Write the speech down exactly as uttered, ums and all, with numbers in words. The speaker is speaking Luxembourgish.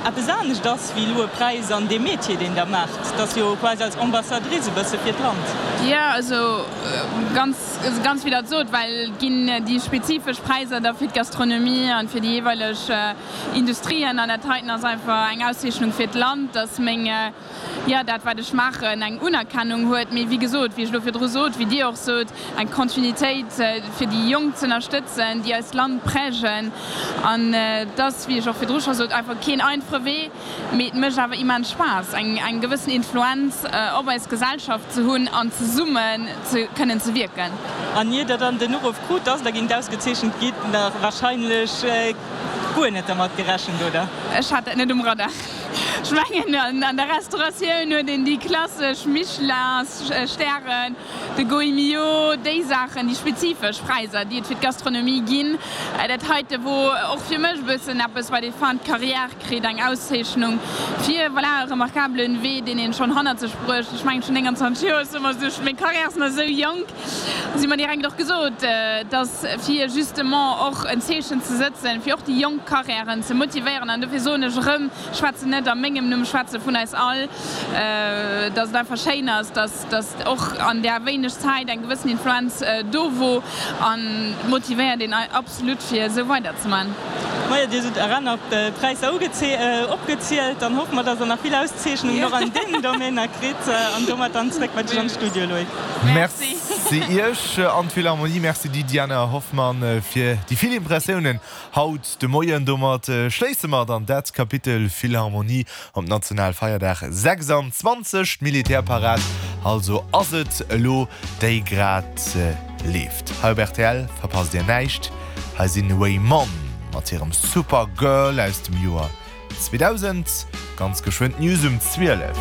Eppes anescht ass wéi elo e Präis an deem Metier, deen Der maacht. Dat ass jo quasi als Ambassadrice e bësse fir d'Land. Jo, also ganz, ganz wéi Der et sot, well et ginn déi spezifesch Präisser da fir d'Gastronomie an fir déi jeeweileg Industrien an dat heiten ass einfach eng Auszeechnung fir d'Land, dass meng, jo, dat wat ech maachen, eng Unerkennung huet. Mee wéi gesot, wéi ech elo virdru sot, wéi Dir och sot, eng Kontinuitéit fir déi Jonk z'ënnerstëtzen, déi eist Land prägen. An et ass, wéi ech och virdru scho sot, einfach keen einfache Wee, mee et mécht awer immens Spaass, eng eng gewëssen Influenz op eis Gesellschaft ze hunn an zesummen ze kënnen ze wierken. An ier Der dann den Uruff krut, dass Der géingt ausgezeechent gitt, nach wahrscheinlech guer net dermat gerechent, oder? Ech hat dat net um Radar. Ech mengen, an der Restauratioun huet een déi klassesch Michelin-Stären, de Gault-Millau, déi Saachen, déi spezifesch Präisser, déi et fir d'Gastronomie ginn. Dat heite wor och fir mech e bëssen eppes, wat ee fin de carrière kritt, eng Auszeechnung fir, voilà, e remarkabelen Wee, deen een schonn hannert sech bruecht. Ech mengen, ech hunn nénganzwanzeg Joer, ech soe mer esou, meng Carrière ass nach esou jonk. Si mer direkt och gesot, dass fir justement och en Zeechen ze sëtzen, fir och déi jonk Carrièren ze motivéieren, an dofir soen ech erëm, ech schwätzen net a mengem Numm, ech schwätze vun eis all, dass et einfach schéin ass, dass dass och an där wéineg Zäit eng gewëssen Influenz do wor an motivéiert een absolut fir esou weider ze man. Majo, Dir hutt aner Präisser opgezielt. Dann hoffe mer, dass Der nach vill Auszeechnungen och an deenen Domainer kritt. An domat dann zréck bei dech an de Studio, Loïc. Merci Iech an d'Philharmonie. Merci dir, Diana Hoffmann, fir déi vill Impressiounen haut de Moien. Domat schléisse mer dann dat Kapitel Philharmonie op Nationalfeierdag sechsanzwanzeg. D'Militärparad also ass et elo, déi grad leeft. Hei op rtl verpasst Dir näischt. Hei sinn Waymon mat hirem Supergirl aus dem Joer zweedausend. Ganz geschwënn d'News um zwielef.